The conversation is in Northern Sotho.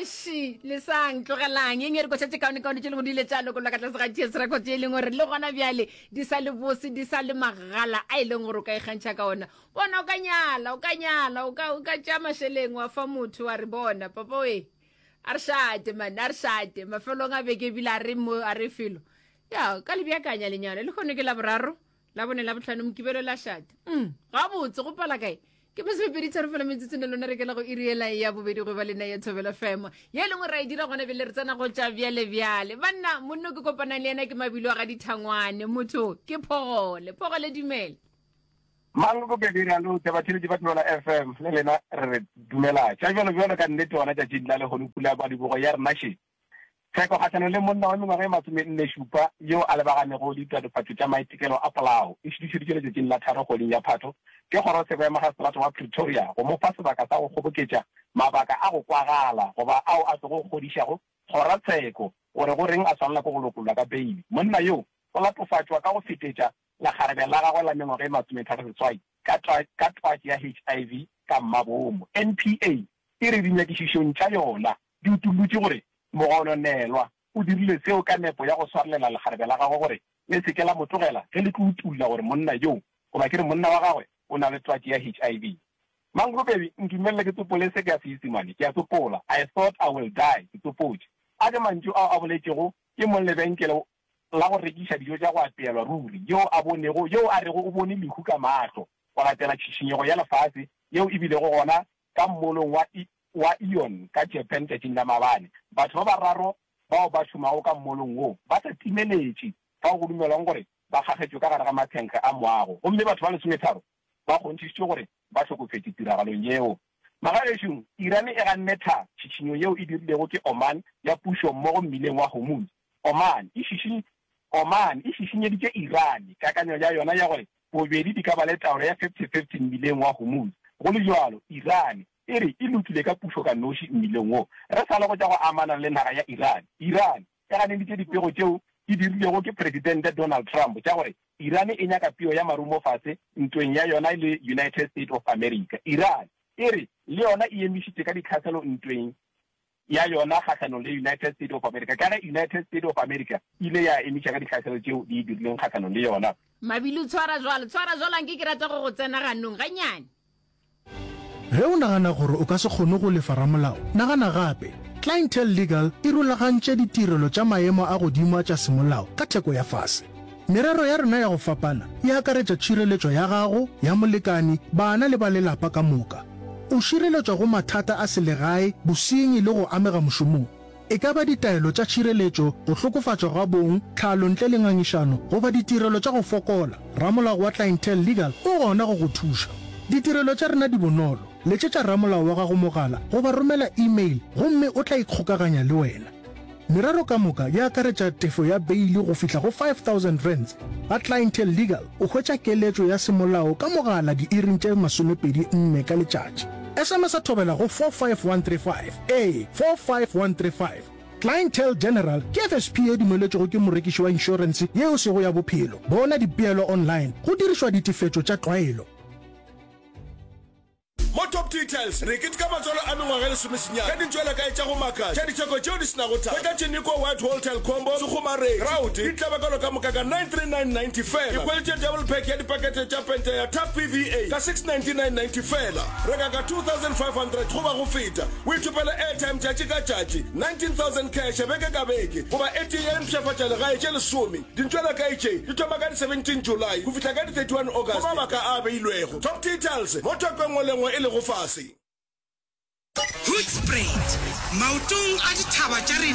Eši, lesang, tlogelang. Ye nngwe ya dikoša tše kaonekaone tše lego di ile tša lokollwa ka tlase ga TS Records ye e leng gore le gona bjale di sa le bose, di sa le magala a e leng gore o ka ikgantšha ka ona. Bona, o ka nyala, o ka nyala, o ka, o ka tšea mašeleng wa fa motho wa re bona, papa we, a re šate man, a re šate. Mafelong a beke ebile a re mo, a re felo. Ya, o ka le beakanya lenyalo. Lehono ke Laboraro, Labone, Labohlano, Mokibelo, la šate. Mm, gabotse, go pala kae? Ke masomepedi tharo fela metsotso ne lona re kela go iri ela ya bobedi go ba lena ya Thobela FM. Ye e lengwe ra e dira gona bjale re tsena go tša bjale bjale. Banna, monno ke kopanang le yena ke Mabilo a ga Dithangwane. Motho ke Phogole. Phogole dumela. Maloko pedi re a lotša batheeletši ba Thobela FM le lena re re dumela. Tša bjalo bjalo ka nnete gona tšatšing la lehono pula ya madibogo ya rena še. Tsheko kgahlanong le monna wa mengwaga e masomennešupa yo a lebaganego le ditatofatšo tša maitekelo a polao e šutišeditšwe letšatšing la tharo kgweding ya Phatho ke kgorotsheko ya Magistrata wa Pretoria go mo fa sebaka sa go kgoboketša mabaka a go kwagala goba ao a tlogo kgodišago kgorotsheko gore go reng a swanela ke go lokollwa ka beili. Monna yo o latofatšwa ka go fetetša lekgarebe la gagwe la mengwaga e masometharoseswai ka ka twatši ya HIV ka mmabomo. NPA e re dinyakišišong tša yona di utollotše gore mogononelwa o dirile seo ka nepo ya go swarelela lekgarebe la gagwe gore le se ke la mo tlogela ge le tlo utolla gore monna yoo, goba ke re monna wa gagwe, o na le twatši ya HIV. Mangro baby, ntumelele ke tsopole se ka Seisemane. Ke a tsopola, I thought I will die, ke tsopotše. A ke mantšu ao a boletšego ke mong lebenkele la go rekiša dijo tša go apeelwa ruri, yoo a bonego, yoo a rego o bone lehu ka mahlo go latela tšhišinyego ya lefase yeo e bilego gona ka mmolong wa wa Aeon ka Japan tšatšing la maabane. Batho ba bararo bao ba šomago ka mmolong wo ba sa timeletše fao go dumelwang gore ba kgakgetšwe ka gare ga mathenkge a moago gomme batho ba lesometharo ba kgonthišitšwe gore ba hlokofetše tiragalong yeo. Magagešong, Iran e ganne tha tšhišinyo yeo e dirilego ke Oman ya pušo mmogo mmileng wa Hormuz. Oman e šiši Oman e šišinyeditše Iran kakanyo ya yona ya gore bobedi di ka ba le taolo ya 50-50 mmileng wa Hormuz. Go le bjalo, Iran e re e lokile ka pušo ka noši mmileng wo. Re sa le go tša go amana le naga ya Iran, Iran e ganeditše dipego tšeo di dirilwego ke Presidente Donald Trump tša gore Iran e nyaka peo ya marumo fase ntweng ya yona le United State of America. Iran e re le yona e emišitše ka ditlhaselo ntweng ya yona kgahlanong le United States of America ka ge United States of America e ile ya emiša ka ditlhaselo tšeo di e dirileng kgahlanong le yona. Mabilu, Tshwara jwalo, tshwara jwalo, anke ke rata go go tsena ganong gannyane. Ge o nagana gore o ka se kgone go lefa ramolao, nagana gape. Clientele Legal e rulagantše ditirelo tša maemo a godimo a tša semolao ka theko ya fase. Merero ya rena ya go fapana e akaretša tšhireletšo ya gago, ya molekani, bana le ba lelapa ka moka. O šireletšwa go mathata a selegae, bosenyi le go amega mošomong. E ka ba ditaelo tša tšhireletšo, go hlokofatšwa ga bong, tlhalo ntle le ngangišano, goba ditirelo tša go fokola, ramolao wa Clientele Legal o gona go go thuša. Ditirelo tša rena di bonolo, letšetša ramolao wa gago mogala goba romela e-mail gomme o tla ikgokaganya le wena. Merero ka moka e akaretša tefo ya beili go fihla go R5000. Ga Clientele Legal o hwetša keletšo ya semolao ka mogala diiring tše 24 ka letšatši. SMS-a thobela go 45135, ee, 45135. Clientele General ke FSP ye dumeletšwego ke morekiši wa inšorense ye e sego ya bophelo. Bona dipeelo online go dirišwa ditefetšo tša tlwaelo. Mo Top Details, re keteka matswalo a mengwaga e lesomesenyane ka dintšwelakae tša go makatša tša ditheko tšeo di se nago thata. Hwetša Tšeniko White Wholetail Combo, sekgomaretši, grout, ditlabakelo ka moka ka 939.90 feela. Ikhweletše double pack ya dipakete tša pente ya Tough PVA ka 699.90 feela. Reka ka 2500 goba go feta, o ithopele airtime tšatši ka tšatši, 19000 cash beke ka beke, goba e tee ya dimpshafatša legae tše lesome. Dintšwelakae tše di thoma ka di 17 July go fihla ka di 31 August go mabaka a a beilwego. Top Details mo thoko e nngwe le nngwe e lego fase. Hoedspruit, maotong a dithaba tša rena.